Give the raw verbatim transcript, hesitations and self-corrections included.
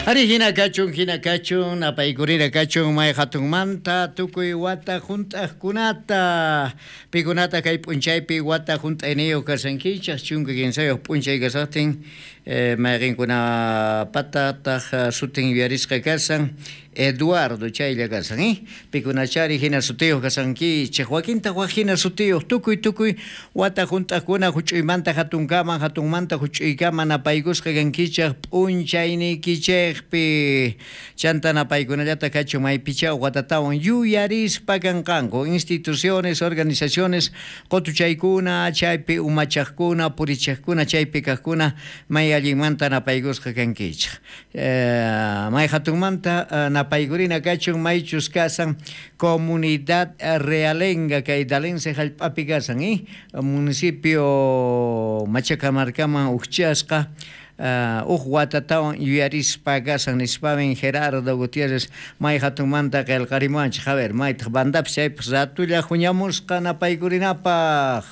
Ari hina kachun, hina kachun, napaykurina kachun may hatunmanta tukuy wata hunt'aqkunata, pikunata kay p'unchaypi wata hunt'ayniyuq kashankichaq chunka kinsayuq p'unchay kasaqtin eh, mayqinkunapatataq sutin yuyarisqa kasan Eduardo chaylla kasan, eh? Pikunachari hina sutiyuq kasankichaq, wakintaq wak hina sutiyuq, tukuy tukuy wata hunt'aqkuna huch'uymanta hatunkaman, hatunmanta huch'uykaman napaykusqa kankichaq p'unchayniykichaqpi. Chanta napaykunallata kachun maypicha watatawan yuyarispa kanqanku instituciones, organizaciones, qutuchaykuna, chaypi umachaqkuna, purichaqkuna, chaypi kaqkuna may allinmanta napaykusqa kankichaq. Eh, may hatunmanta uh, napaykurina kachun maychus kasan comunidad realenga kay Dalense hallp'api kasan, eh? Municipio Machacamarcaman ukchasqa Uh, uj watatawan yuyarispa kasan nispamin Gerardo Gutiérrez may hatunmanta qillqarimuwanchik. A ver, maytaq bandapis chaypaq ratulla huñamusqa napaykurinapaq.